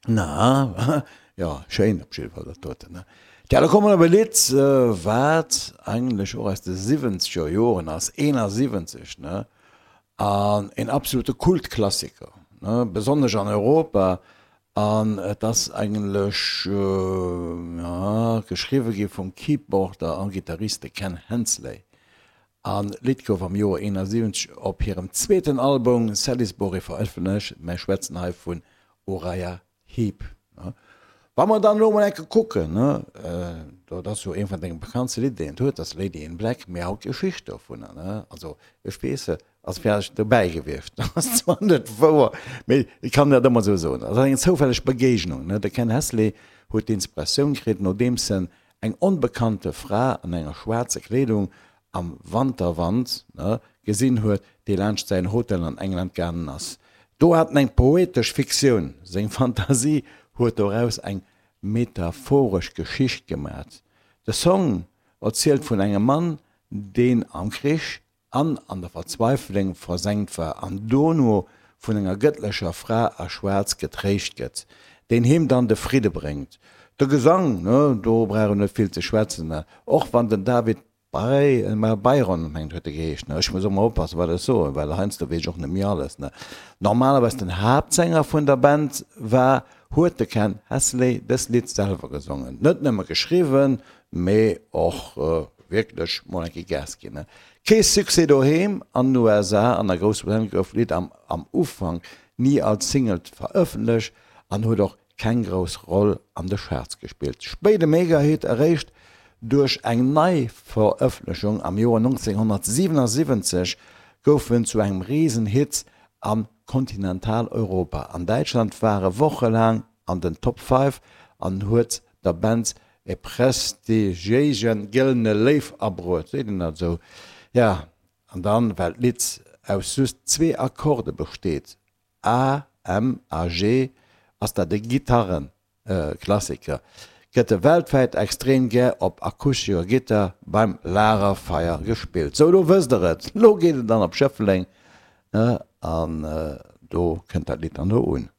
Na, jo, schéin op jidde Fall dat doten, ne? Tja, da komme mer op e Lidd, wat eigentlech och aus de siwwenzeger Joren ass, 71, ne? An een absolute Kultklassiker, ne? Besonnesch an Europa. An et ass eigentlech, jo, geschriwwe gi vum Keyboarder a Gittarist de Ken Hensley. An d'Lidd gouf am Joer 71 op hirem zweeten Album Salisbury verëffentlecht. Mär schwätzen hei vun Uriah Heep. Wa mer dann elo mol enke kucken, dat ass jo eent vun denge bekanntste Lidder, déi en huet, dat ass Lady in Black, mee haut d'Geschicht dovunner, also ech weess se, ass vläicht dobäi gewiescht, ass zwar net wouer, mee ech kann dat ëmmer esou soen, ass eng zoufälleg Begéignung. De Ken Hesley huet d'Inspiratioun kritt, nodeems en eng onbekannte Fra an enger schwaarze Kleedung am Wanterwand gesinn huet, déi laanscht säin Hotel an England gaangen ass. Do hat en eng poetesch Fiktioun, seng Fantasie huet doraus eng metaphoresch Geschicht gemat. De Song erzielt vun engem Mann, deen am Krich an an der Verzweifeleng versenkt war an dono vun enger gëttlecher Fra a Schwaarz getréischt gëtt, deen him dann de Fridde bréngt. De Gesang, ne, do brauch een net vill ze schwätzen, ne, och wann den David Byron, mengt huet e geheescht, ne, ech muss och mol oppassen, wat ech soen, well heiansdo weess ech och net méi alles, ne, normalerweis den Haaptsänger vun der Band war, huet de Ken Hesley dëst Lidd selwer gesongen, net nëmme geschriwwen, mee och wierklech mol eng Kéier Gas ginn. Kee Succès doheem an den USA an a Groussbritannien gouf d'Lidd am am Ufank ni als Single verëffentlecht an huet och keng grouss Roll an de Charts gespillt. Spéide Megahit eréischt duerch eng Neiverëffentlechung am Joer 1977 gouf en zu engem Risenhit a Kontinentaleuropa. An Däitschland war e wochelaang an den Top Five an huet der Band e prestigiéise gëllene Léiw abruet, seet een dat esou? Ja, an dann, well d'Lidd aus just zwee Akkorde besteet, A, M a G, ass dat e Gitarrenklassiker, gëtt e weltwäit extrem gär op akustescher Gittar beim Lagerfeier gespillt. Sou, lo wësst der et, lo geet et dann op Schëffleng, ne, an do kënnt dat Lidd dann do un.